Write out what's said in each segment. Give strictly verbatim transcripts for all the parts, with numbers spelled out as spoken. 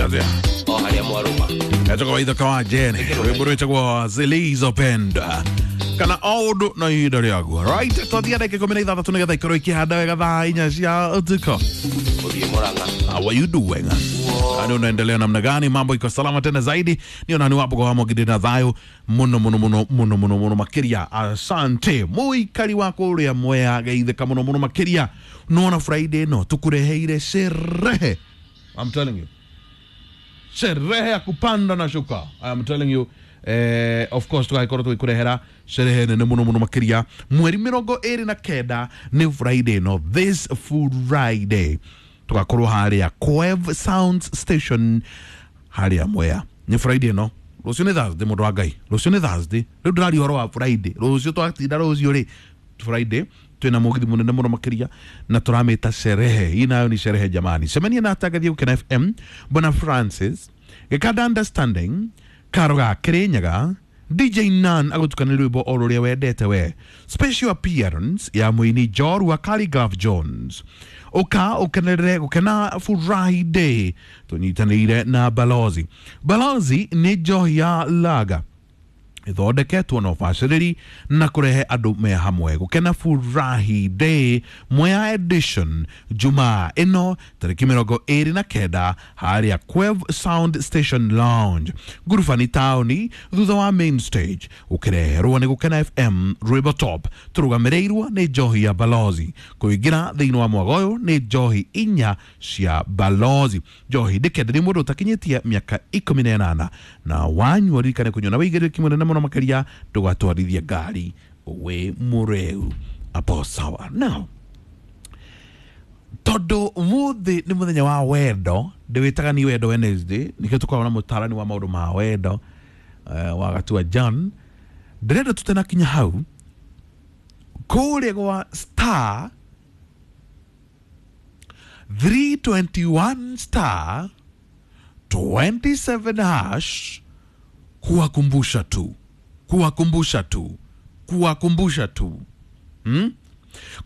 Atia O harĩa mwarũma. Etagwo Ithe wa Jene, rwĩmbo rwĩtagwo Zilizopenda kana o ũndũ na ihinda rĩaguo. Right, twathia ndagĩka ikũmi na ithathatũ nĩgetha ikorwo ikĩhanda wega thaa inya cia ũtukũ. Ũthiĩ Mũrang'a. How are you doing? Yaani unaendelea namna gani? Mambo iko salama tena zaidi. Ni ni wapo kwa mwagide na thayo muno muno muno muno muno muno makiria. Asante. Muikari wako uria mwea geitheka muno muno makiria. Nona Friday no tukureheire sherehe. I'm telling you. Sherehe ya kupanda na shuka. I'm telling you. Eh, of course tugakorwo tugĩkũrehera sherehe nene muno muno makiria mweri mĩrongo ĩrĩ na kenda nĩ Friday no this Friday tugakorwo harĩa Coev Sounds Station harĩa Mwea. Nĩ Friday no rũciũ nĩ Thursday, mũndũ wa Ngai, rũciũ nĩ Thursday. Rĩu ndĩraria ũhoro wa Friday, rũciũ twatinda rũciũ rĩ Friday twĩna mũgithi mũnene mũno makĩria na tũramĩta sherehe. Hii nayo ni sherehe jamani. Cemania na atangathi Gũkena F M, Bwana Francis Gĩkanda Understanding Karoga Kirinyaga, D J Nan agũtukana rwĩmbo o rũrĩa wendete we. Special appearance ya mũini Njorua Khaligraph Jones. Ũka ũkenerere gũkena Friday tũnyitanĩire na Balozi. Balozi nĩ njohi ya lager ithondeketwo na ũbacĩrĩri na kũrehe andũ me hamwe. Gũkena Furahi Day Mwea edition Jumaa ĩno tarĩki mĩrongo ĩrĩ na kenda harĩa Quev Sound Station Lounge Ngurubani taũni thutha wa main stage. Ũkĩreherwo nĩ Gũkena F M Rwĩmbo Top, tũrũgamĩrĩirwo nĩ njohi ya Balozi. Kũingĩra thĩinĩ wa mwago ũyũ nĩ njohi inya cia Balozi. Njohi ndĩkenderio mũndũ ũtakinyĩtie mĩaka ikũmi na ĩnana, na wanyua ririkane kũnyua na wĩigĩrĩrĩki mũnene mũno makiria, ndũgatwarithie ngari wĩ mũrĩu. Apo sawa. Now tondu umuthi ni muthenya wa wendo, ndiwitaga ni wendo Wednesday, nikio tukoragwo na mutarani wa maundu ma wendo uh, wa Gatua John. Ndirenda tutena kinya hau kuria gwa star three twenty-one star twenty-seven hash, kuwakumbusha tu, kuwakumbusha tu, kuwakumbusha tu. Hmm?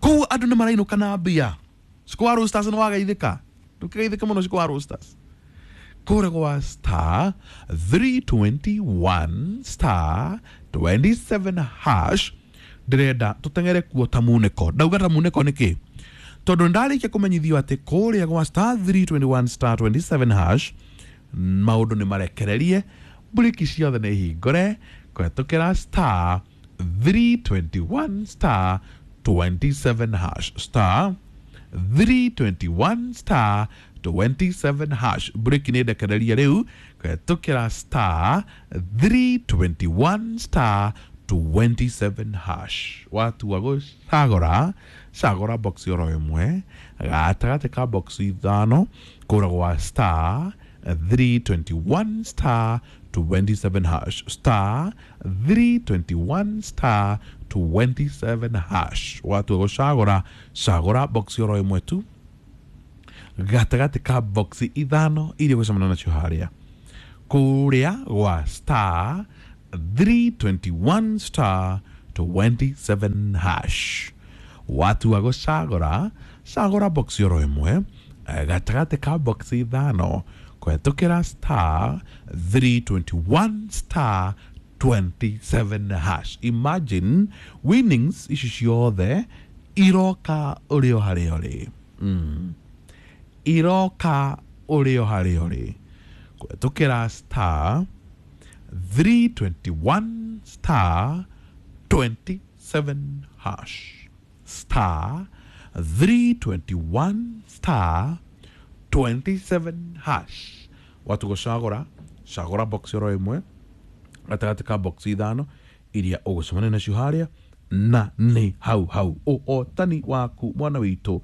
Kuu andu ni marainuka na mbia. Siku wa Roosters ni wagaithika. Ndukigaithika muno siku wa Roosters. Kũrĩa gwa star three twenty-one star twenty-seven hash, ndĩrenda tũteng'ere kuo ta munĩko. Ndauga ta munĩko nĩkĩ? Tondũ ndarĩkia kũmenyithio atĩ kũrĩa gwa star three twenty-one star twenty-seven hash maũndũ nĩ marekererie, mburiki ciothe nĩ hingũre kũhetũkĩra star three twenty-one star twenty-seven hash, star three twenty-one star twenty-seven hash. Mburiki nĩ ndekererie rĩu kũhetũkĩra star three twenty-one star twenty-seven hash. Watua gũcagũra, cagũra box oro ĩmwe gatagatĩ ka box ithano kũra gwa star three twenty-one star twenty-seven hash, star three twenty-one star twenty-seven hash. Watua gũcagũra, cagũra box oro ĩmwe tu gatagatĩ ka box ithano iria ũgũcemania nacio harĩa kũrĩa gwa star three twenty-one star twenty-seven hash. Watua gũcagũra, cagũra box oro ĩmwe gatagatĩ ka box ithano kũhetũkĩra star three twenty-one star twenty-seven hash. Imagine winnings ici ciothe iroka ũrĩ o harĩa ũrĩ. Mm. Iroka ũrĩ o harĩa ũrĩ kũhetũkĩra star three twenty-one star twenty-seven hash, star three twenty-one star twenty-seven hash. Watu gũcagũra, cagũra box oro ĩmwe gatagatĩ ka box ithano iria ũgũcemania nacio harĩa, na nĩ hau hau ũhotani waku mwana witũ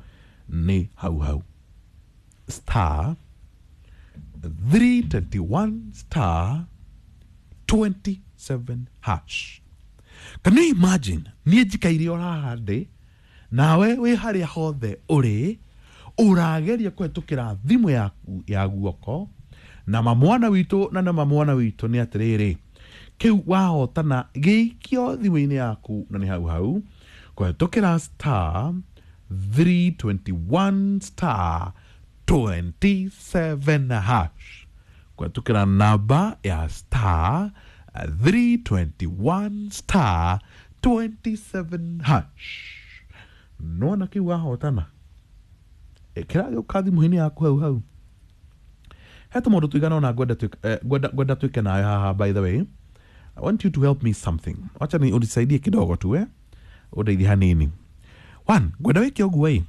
nĩ hau hau. Star three twenty-one star twenty-seven hash. Can you imagine? Niĩ njikaire o haha ndĩ nawe wĩ harĩa hothe ũrĩ ũrageria kũhetũkĩra thimũ yaku ya guoko na mamwana witũ na na mamwana witũ nĩ atĩrĩrĩ, kĩu wahotana gĩikio thimũ-inĩ yaku na nĩ hau hau kũhetũkĩra star three twenty-one star twenty-seven hash. Kũhetũkĩra namba ya star three twenty-one star twenty-seven hash. Nona kĩu wahotana, ĩkĩra gĩũka thimũ-inĩ yaku hau hau. He tũmaũndũ tũigana ũna ngwenda twĩke- eh, ngwenda ngwenda twĩke nawe haha. By the way, I want you to help me something. Wacha ni unisaidie kidogo tu, eh, ũndeithie hanini. One, ngwenda wĩke ũguo ĩ,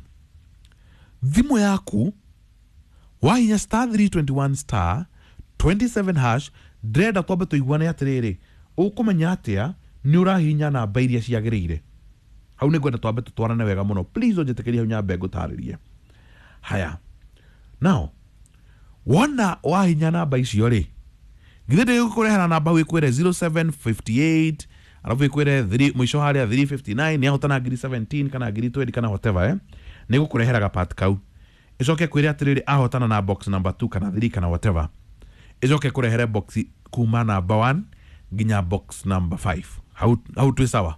thimũ yaku wahinya star three twenty-one star twenty-seven hash, ndĩrenda twambe tũiguane atĩrĩrĩ, ũkũmenya atĩa nĩ ũrahihinya namba iria ciagĩrĩire? Hau nĩ ngwenda twambe tũtwarane wega mũno. Please ũnjĩtĩkĩrie hau nyambe ngũtarĩrie. Haya, now wona wahinya namba icio rĩ, githĩ ndĩgũkũrehera namba wĩkwĩre zero seven five eight, alafu ĩkwĩre three mũico harĩa three fifty-nine nĩ ahotana ngiri seventeen kana ngiri twenty kana whatever, eh? Nĩ gũkũrehera gapart kau, ĩcoke kwĩre atĩrĩrĩ, ahotana na box number two kana three kana whatever, ĩcoke kũrehere box kuma namba one nginya box number five. Hau hau twĩ sawa?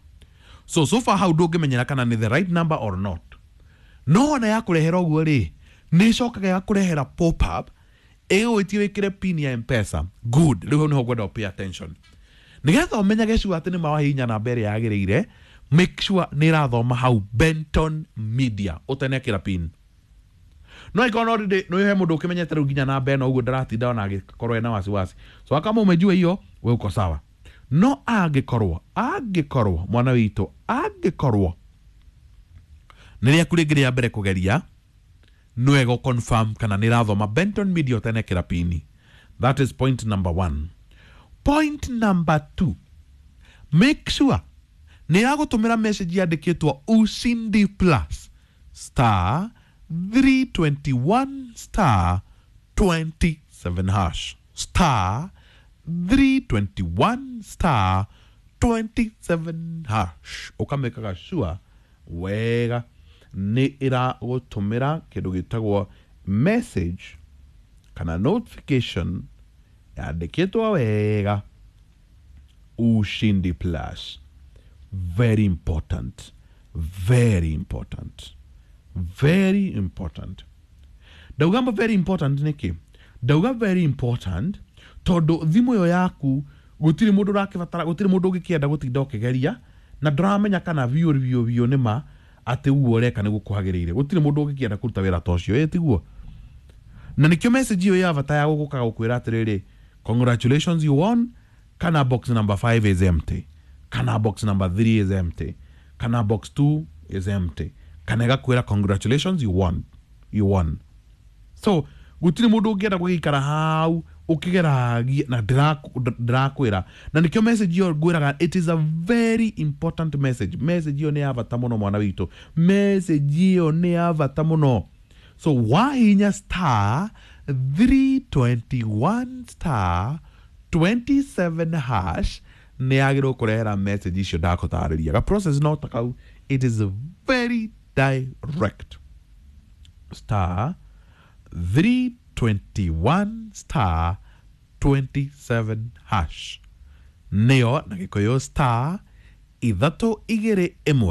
So so far hau ndũngĩmenyera kana nĩ the right number or not. No ona yakũrehera ũguo rĩ, nĩ ĩcokaga ĩgakũrehera pop up ĩgũgwĩtie wĩkĩre pin ya M-Pesa. Good. Rĩu hau nĩho ngwenda pay attention, nĩgetha ũmenyage sure atĩ nĩ mawahihinya namba ĩrĩa yagĩrĩire. Make sure nĩ ĩrathoma hau Benton Media ũtenekĩra pin. No ikorwo no ndĩ no he mũndũ ũkĩmenyete rĩu nginya namba ĩno ũguo ndaratinda ona agĩkorwo ena wasiwasi. So kama umejua hiyo, we uko sawa. No angĩkorwo angĩkorwo mwana witũ, angĩkorwo nĩ rĩaku rĩngĩ rĩa mbere kũgeria, nĩ wega confirm kana nĩ ĩrathoma Benton Media ũtenekĩra pini. That is point number one. Point number two, make sure nĩ ĩragũtũmĩra message yandĩkĩtwo Ushindi Plus star three twenty-one star twenty-seven hash, star three twenty-one star twenty-seven hash. Ũkamĩkaga sure wega nĩ ĩragũtũmĩra kĩndũ gĩtagwo message kana notification yandĩkĩtwo wega Ushindi Plus. Very important, very important, very important. Ndauga mba very important nĩkĩ? Ndauga very important tondũ thimũ ĩyo yaku gũtirĩ mũndũ ũrakĩbatara, gũtirĩ mũndũ ũngĩkĩenda gũtinda ũkĩgeria na ndũramenya kana biũ biũ biũ nĩ ma atĩ ũguo ũreka nĩguo kwagĩrĩire. Gũtirĩ mũndũ ũngĩkĩenda kũruta wĩra ta ũcio, ĩ tiguo? Na nĩkĩo message ĩyo ya bata ya gũgũka gũkwĩra atĩrĩrĩ, "Congratulations, you won," kana "Box number five is empty," kana "Box number three is empty," kana "Box two is empty," kana ĩgakwĩra, "Congratulations, you won, you won." So gũtirĩ mũndũ ũngĩenda gũgĩikara hau ũkĩgeragia na ndĩraku- ndĩrakwĩra, na nĩkĩo message ĩyo ngwĩraga it is a very important message. Message ĩyo nĩ ya bata mũno, mwana witũ, message ĩyo nĩ ya bata mũno. So wahinya star three twenty-one star twenty-seven hash, nĩ yagĩrĩirwo kũrehera message icio ndakũtarĩria. Ga process no ta kau. It is very direct. Star three twenty-one star twenty-seven hash, nĩyo na Gĩkũyũ star ithatũ igĩrĩ ĩmwe.